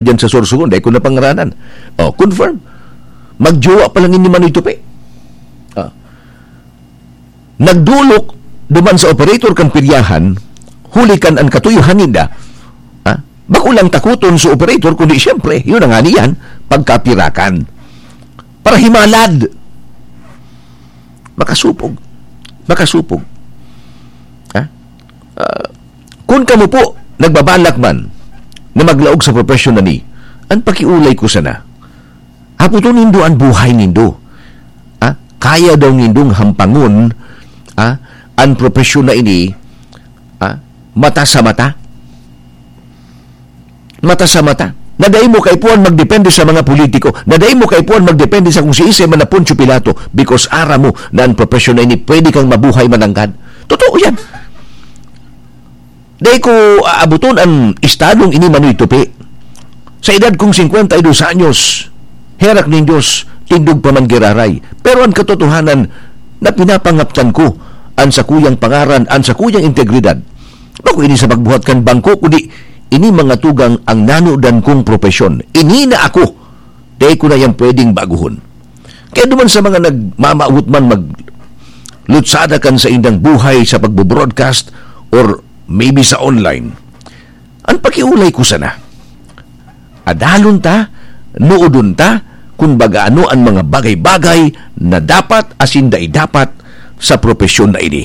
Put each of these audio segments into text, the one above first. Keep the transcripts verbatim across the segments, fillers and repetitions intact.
diyan sa Sorsogon, dai ko na pangaranan. Oh, confirm. Magjowa pa lang ini Manoy Tupi. Ah. Nagdolok duman sa operator kan piryahan, huli kan an katuyohan ninda, ah, bako lang takoton sa operator, kundi siyempre, yun na nga niyan, pagkapirakan. Para himalad. Makasupog. Makasupog. Ha? Ah, kun kamo po, nagbabalak man na maglaog sa profesyon na ni, an pakiulay ko sana, hapoton nindo an buhay nindo. Ha? Kaya daw nindong hampangon, ha? An profesyon na ini, ha? Mata sa mata. Mata sa mata. Na dai mo kaipuhan magdepende sa mga politiko. Na dai mo kaipuhan magdepende sa kung siisay man na Poncio Pilato, because aram mo na an profesyon na ini pwede kang mabuhay mananggad. Totoo yan. Dai ko aaboton an estadong ini, Manoy Tupi. Sa edad kong singkwenta y dos anyos, herak nin Diyos, tindog pa man giraray. Pero an katotohanan na pinapangaptan ko, an sakuyang pangaran, an sakuyang integridad. Bako ini sa pagbuhat kan bangko, kundi ini mga tugang ang nanodan kong propesyon. Ini na ako. Dai ko na yan pwedeng baguhon. Kaya duman sa mga nagmamawot man maglutsada kan saindang buhay sa pagbo-broadcast or maybe sa online, an pakiulay ko sana, adalon ta, noodon ta, kun baga ano an mga bagay-bagay na dapat asin dai dapat sa propesyon na ini.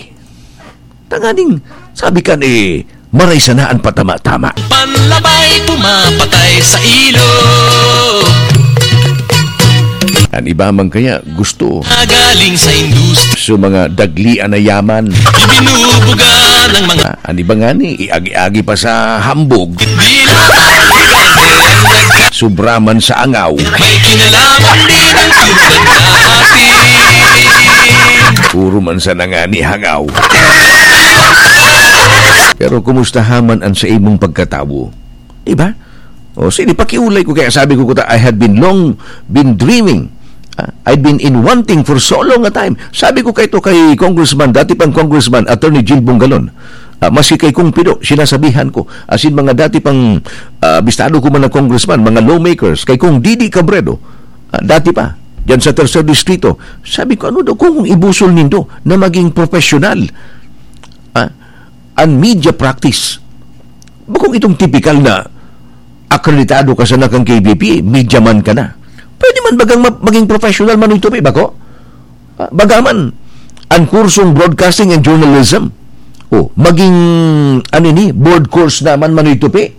Tanganing, sabi kan, eh, maray sana an patama-tama. Panlabay pumapatay sa ilog. An iba man kaya gusto Nagaling sa industri. Sa mga daglian na yaman. Ibinubuga ng mga Ah, an iba ngani, iagi-agi pa sa hambog. Di na Sobra man sa angaw. May kinalaman din ang tulad natin. Puro man sa nangani hangaw. Pero kumusta man an sa imong pagkatawo? Di ba? O, sige, pakiulay ko. Kaya sabi ko, kuta, I had been long, been dreaming. Ah, I'd been in wanting for so long a time. Sabi ko kay to kay Congressman, dati pang Congressman, Attorney Jill Bongalon. Ah, maski kay Kong Pido, sinasabihan ko. Asin mga dati pang, ah, bistado ko man na congressman, mga lawmakers, kay Kong Didi Cabredo, ah, dati pa, diyan sa Tercer Distrito. Sabi ko, "Ano daw kung ibusol nindo na maging professional?" Ah, an media practice. Bakong itong tipikal na akreditado ka sana kan K B P, media man ka na. Pwede man bagang ma-, maging professional man ito, bako? Ah, baga man, an kursong Broadcasting and Journalism. O, maging, ano ni, board course naman man ito, pe.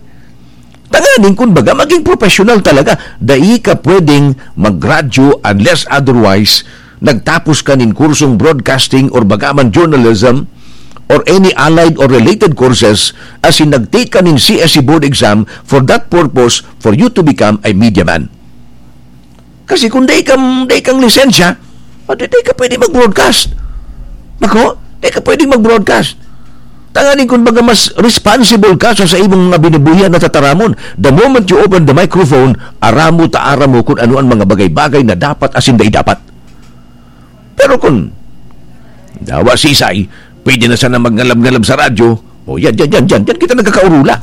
Tanganing, kun baga, maging professional talaga. Dai ka pwedeng magradyo unless otherwise nagtapos ka nin kursong broadcasting or baga man journalism or any allied or related courses, as in nag-take ka nin C S C board exam for that purpose, for you to become a media man. Kasi kung dai kang, dai kang lisensya, o di, dai ka pwede mag-broadcast. Bako, dai ka pwede mag-broadcast. Tanganing kun baga mas responsible ka sa, sa imong mga binubuhian na tataramon. The moment you open the microphone, aram mo ta aram mo kung ano ang mga bagay-bagay na dapat asin dai dapat. Pero kun dawa sisay, pwede na sana magngalab-ngalab sa radyo. O, yan, yan, yan, yan. Yan kita nagkakaurula.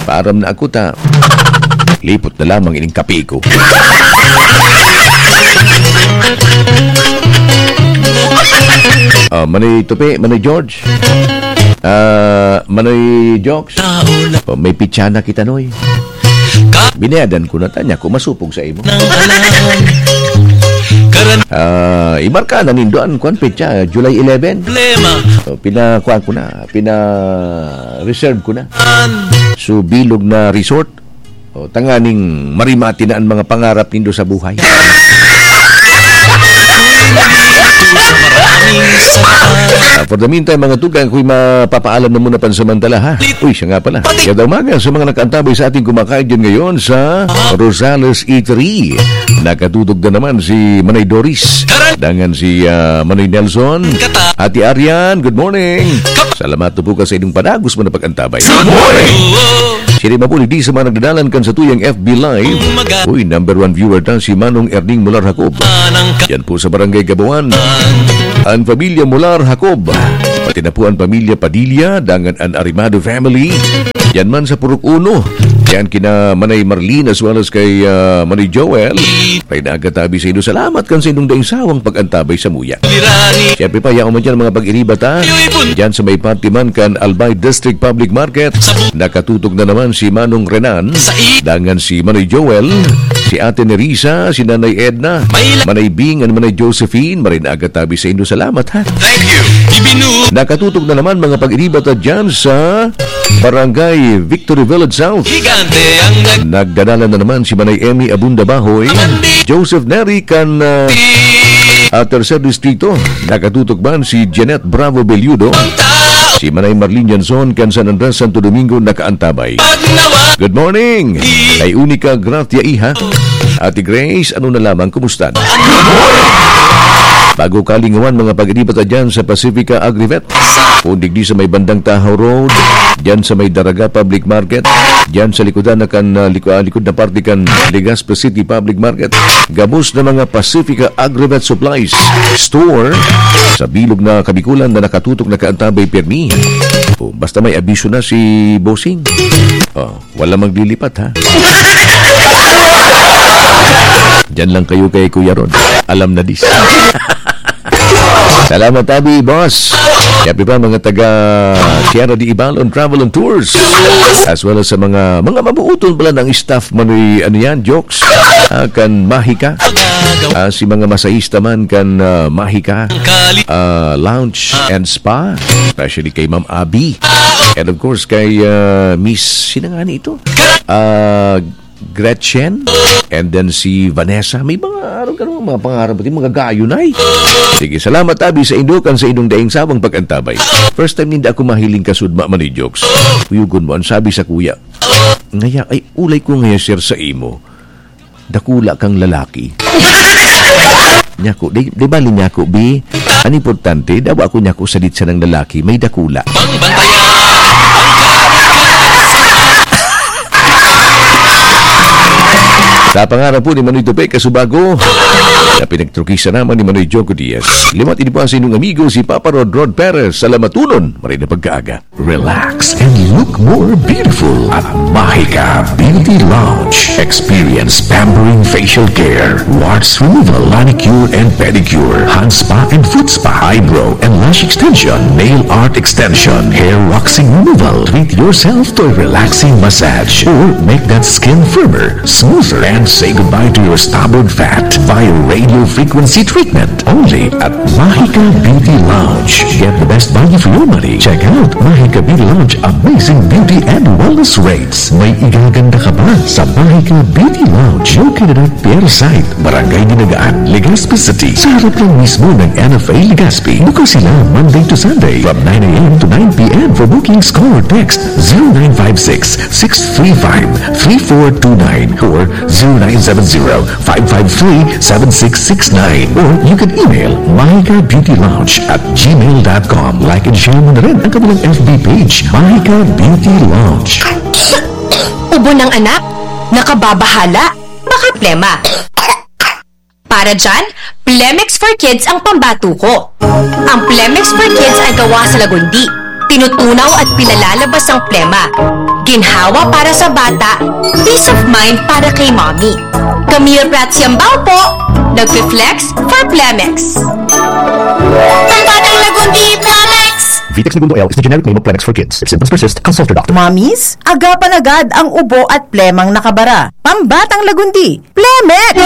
Paaram na ako ta. Lipot na lamang ining kape ko. Ah, Manoy Tupi, Manoy George. Ah, Manoy Jokes. O, may pitsa na kita, Noy. Binayadan ko na ta, nya ko masupog sa imo. Nang alam. Karan- Ah, imarka na nindo an kwan petsa, July eleven. Problema. O, pina-, kwan ko na, pina-reserve ko na. An- So, bilog na resort. O, tanganing marimati na an mga pangarap nindo sa buhay. Maraming salamat. Ah, for the meantime, mga tugang, ako'y mapapaalam na muna pansamantala, ha? Uy, siya nga pala. Kada umaga sa mga nakaantabay sa ating kumakain dyan ngayon sa Rosales Eatery. Nakatutok na naman si Manay Doris. Dangan si, ah, Manay Nelson. Ate Arian, good morning. Salamat po ka sa inyong padagos mo na pag-antabay. Good morning! Siya rin mapuli di sa mga nagdadalan kan sa tuyang F B Live. Uy, number one viewer ta si Manong Erning Mular Jacob. Yan po sa Barangay Gabawan. Ang pamilya Mular Jacob. Tinapuan pamilya Padilla, dangan an Arimado family. Yan man sa Purok Uno. Yan kina Manay Marlene as well as kay, ah, Manay Joel. May nagatabi sa inyo. Salamat kan sa inyong daing sawang pag-antabay sa muya. Siyempre pa, yaon man dyan mga pag-iribat, ha? Dyan sa may parte man kan Albay District Public Market, nakatutok na naman si Manong Renan, dangan si Manoy Joel, si Ate Nerissa, si Nanay Edna, Manay Bing, and Manay Josephine. Maray na aga tabi sa inyo. Salamat, ha? Thank you. Ibinu- Nakatutok na naman mga pag-iribat dyan sa Barangay Victory Village South. Gigante ang nag- Nagdadala na naman si Manay Emmy Abunda Bahoy, Joseph Neri kan, ah, ah, Tercer Distrito. Nakatutok man si Janet Bravo Belludo, si Manay Marlene Janson kan San Andres, Santo Domingo, nakaantabay. Good morning! Kay Unica Gracia Iha, Ate Grace, ano na lamang, kumusta? Bago kalingawan mga pag-iribat dyan sa Pacifica Agrivet. Kung digdi sa may bandang Tahaw Road, dyan sa may Daraga Public Market, dyan sa likodan na kan, ah, liko-, ah, likod na parte kan Legazpi City Public Market, gabos na mga Pacifica Agrivet Supplies Store sa bilog na Kabikulan na nakatutok, nakaantabay, pirmi. O, basta may abisyo na si Bossing. Oh, wala maglilipat, ha? Diyan lang kayo kay Kuya Rod. Alam na dis. Salamat, Abi, boss. Happy pa, mga taga Sierra de Ibalon Travel and Tours. As well as sa mga, mga mabuuton pala ng staff, Manoy, ano yan, jokes. Ah, kan Mahika. Ah, si mga masahista man kan, ah, Mahika, ah, Lounge and Spa. Especially kay Ma'am Abi. And of course, kay, ah, Miss, sino nga ni ito? Ah, Gretchen, and then si Vanessa. May mga, ano ka naman, mga pangarap, mga gayo na eh. Sige, salamat, Abi, sa indo kan sa indong daing sawang pag-antabay. First time ninda ako mahiling kasudma man ni jokes. Kuyugon mo, ang sabi sa kuya, "Ngaya, ay, ulay ko ngaya, sir, sa imo. Dakula kang lalaki." Nyako, di, di bali nyako, bi. Ang importante, dawa ako nyako sa ditsa ng lalaki, may dakula. Sa pangarap po ni Manoy Tupe Kasubago, na pinagtrukisa naman ni Manoy Joko Diaz. Liwat ini po ang sa inyong amigo, si Papa Rod Rod Perez. Sa lamatunon, maray na pagkaaga. Relax and look more beautiful at Mahika Beauty Lounge. Experience pampering facial care, warts removal, manicure and pedicure, hand spa and foot spa, eyebrow and lash extension, nail art extension, hair waxing removal. Treat yourself to a relaxing massage or make that skin firmer, smoother, and say goodbye to your stubborn fat via radio frequency treatment. Only at Mahika Beauty Lounge. Get the best value for your money. Check out Mahika Beauty Lounge amazing beauty and wellness rates. May igaganda ka pa sa Mahika Beauty Lounge, located at Pier Site, Barangay Dinagaan, Legazpi City. Sa harap lang mismo ng N F A Legazpi. Bukas sila Monday to Sunday from nine a m to nine p m. For bookings, call or text zero nine five six, six three five, three four two nine or zero nine seven zero, five five three, seven six six nine. Or you can email mahika beauty lounge at gmail dot com. Like and share mo na rin ang kanilang F B page, Mahika Beauty Lounge. Ubo ng anak? Nakababahala? Baka plema. Para dyan, Plemex for Kids ang pambato ko. Ang Plemex for Kids ay gawa sa lagundi. Tinutunaw at pinalalabas ang plema. Ginhawa para sa bata, peace of mind para kay mommy. Camille Prats Yambao po, nagpi-flex for Plemex. Pambatang lagundi, Plemex! Vitex Negundo L is the generic name of Plemex for Kids. If symptoms persist, consult your doctor. Mommies, agapan agad ang ubo at plemang nakabara. Pambatang lagundi, Plemex!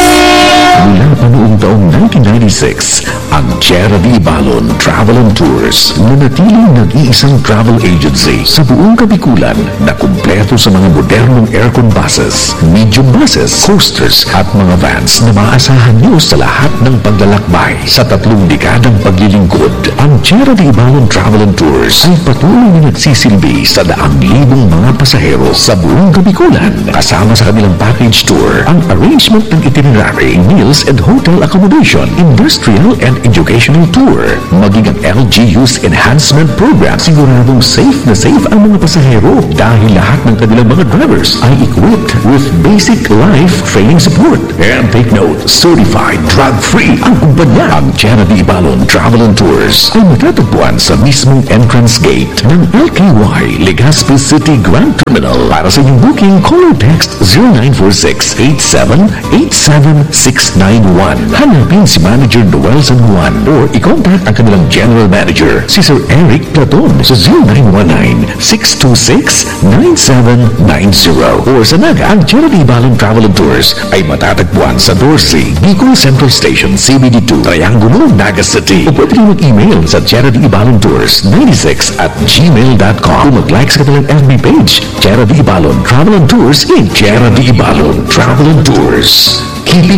Mula pa noong taong nineteen ninety-six, ang Tierra de Ibalon Travel and Tours nanatiling nag-iisang travel agency sa buong Kabikulan na kumpleto sa mga modernong aircon buses, medium buses, coasters at mga vans na maaasahan nyo sa lahat ng paglalakbay. Sa tatlong dekadang paglilingkod, ang Tierra de Ibalon Travel and Tours ay patuloy na nagsisilbi sa daang libong mga pasahero sa buong Kabikulan. Kasama sa kanilang package tour, ang arrangement ng itinerary, meals and hotel accommodation, industrial and educational tour, maging ang L G U's enhancement program. Siguradong safe na safe ang mga pasahero dahil lahat ng kanilang mga drivers ay equipped with basic life training support. And take note, certified drug-free ang kumpanya. Ang Chera de Ibalon Travel and Tours ay matatagpuan sa mismong entrance gate ng L K Y Legazpi City Grand Terminal. Para sa inyong booking, call or text zero nine four six eight seven eight seven six nine one. Hanapin si Manager Noel San Juan or i-contact ang kanilang General Manager, si Sir Eric Platon, sa zero nine one nine six two six nine seven nine zero. Or sa Naga, ang Chera de Ibalon Travel and Tours ay matatagpuan sa doce, Bicol Central Station, C B D two, Triangulo, Naga City. O pwede rin mag-email sa Chera de Ibalon Tours ninety-six at gmail dot com o mag-like sa kanilang F B page, Chera de Ibalon Travel and Tours in Chera de Ibalon Travel and Tours. Keeping